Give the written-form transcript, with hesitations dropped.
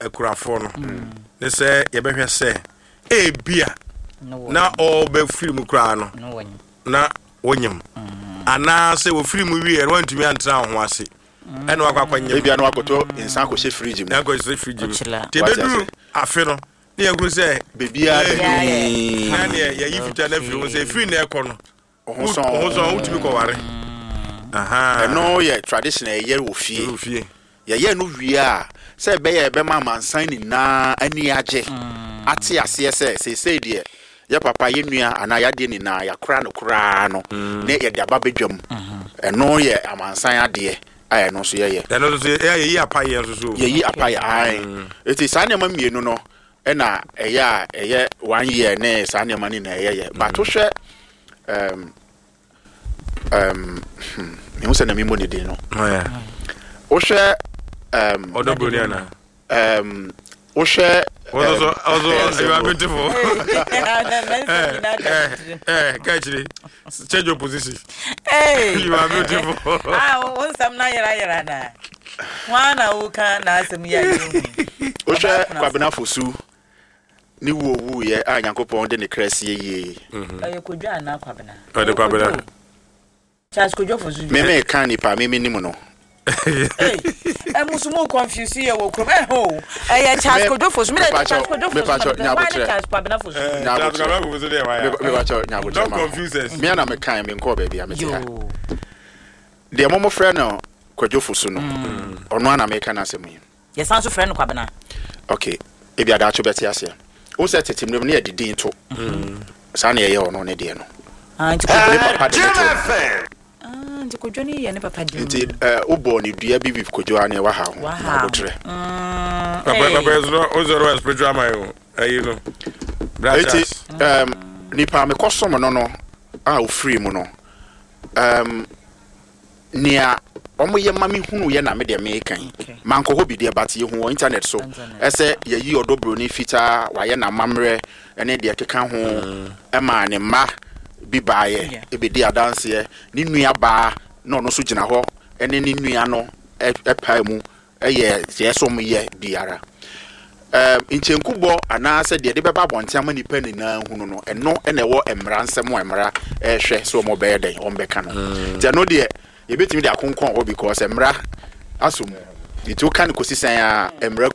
Akurafoɔ no ne sɛ yɛbɛhwɛ sɛ ebia na ɔbɛfiri mu koraa no na wonyim, anaasɛ wɔfiri mu wieɛ no wantumi antena wo ho ase ɛna wakɔ akɔnyem. Ebia na wakɔtɔ nsa akɔhyɛ fridge mu. Akɔhyɛ fridge mu. Ɔkyela. Nti ɛbɛduru afe no ne yɛhunu sɛ Baabiara da Ee, dinn. na neɛ yɛyi fitaa no afiri ho sɛ ɛfiri na ɛkɔ no Wo ho sɔn. wo ho sɔn, wotumi kɔware. Aha. Ɛno yɛ tradition a ɛyɛ wɔ fie. Wɔ fie. Yɛyɛ no wie a, sɛ ɛbɛyɛ a ɛbɛma amansan nyinaa ani agye, ate aseɛ sɛ seesei deɛ yɛ papa, yɛ nua anaa yɛ adeɛ nyinaa yɛakora no koraa no, ne yɛde aba badwam. Ɛno yɛ amansan adeɛ a ɛno nso yɛyɛ. Ɛno nso so yɛ yɛyi apayɛ nso so. Yɛyi apayɛ, ae. Eti saa nneɛma mmienu no ɛna ɛyɛ a ɛyɛ one year ne saa nneɛma no nyinaa ɛyɛyɛ. But wohwɛ mehu sɛ na memmɔ ne din no. Wohwɛ Ɔdɔ broni ana? Wohwɛ Ɔsɔ so ɔsɔ you are beautiful. Kakyire change your position. Hey. You are beautiful. Ah, wo nsɛm na yera yera na. Hwan na woka n'asɛm yi a yɛhu? Wohwɛ Kwabena Fosu ne wuo wuiɛ a Nyankopɔn de ne kra sie yie. Ɛyɛ Kodwo anaa Kwabena? Ɔde Kwabena. Charles Kodwo Fosu. Me me ka nipa me me nim no. Hey, ɛmu so mu confuse yɛ wɔ kurom ɛhɔ o. Ɛyɛ Charles Kodwo Fosu. Mi na Charles Kodwo Fosu na mi pɛ. Charles Kwabena Fosu? Charles Kwabena Fosu deɛ waya. Mepakyɛw, nyabotrɛ. Don't confuse us. Me ana mekan me nkɔɔ baabi a mete ha. Deɛ mo mo frɛ no Kwadwo Fosu no, ɔno ana meka n'asɛm yi. Yɛsan so frɛ no Kwabena. Okay, ebi adaakye bɛte aseɛ. Wo sɛ tete mmerɛ mu ne yɛde din to. Saa na yɛyɛ ɔno ne deɛ no. Ah, nti Kodwo Ne papa de ne to no. Ah, nti Kodwo ne yɛ ne papa din. Nti wobɔɔ ne dua bi bi Kodwo a ne waha ho. Waha ho. Nyabotrɛ. Papa papa yɛ sɔrɔ o sɔrɔ spiritual man o ɛyi no. Bra Eti Charles. nipa a mekɔsom no a ofiri mu no, nea ɔmoyɛ ma me hunu yɛ na me deɛ meka yi. Mankɔ hɔ bi deɛ, but yɛhu wɔ internet so ɛsɛ yɛyi Ɔdɔ Broni Fitaa, wayɛ n'amammerɛ ne deɛ ɛkeka ho, ɛma ne mma bi baeɛ ɛbɛdi adanseɛ. Ne nua baa na ɔno nso gyina hɔ ɛne ne nua no ɛpae mu ɛyɛ deɛ ɛsɛ ɔmo yɛ biara. Nkyɛnkubɔ anaasɛ deɛ de bɛba abɔnten ama nipa nyinaa hunu no, ɛno ɛna ɛwɔ mmara nsɛm a mmara ɛrehwɛ sɛ ɔmo bɛyɛ dɛn ɔmo bɛka no. Nti ɛno deɛ yɛbɛtumi de akonkɔn hɔ because mmara aso mu, nti woka no kɔsi sɛn a mmara.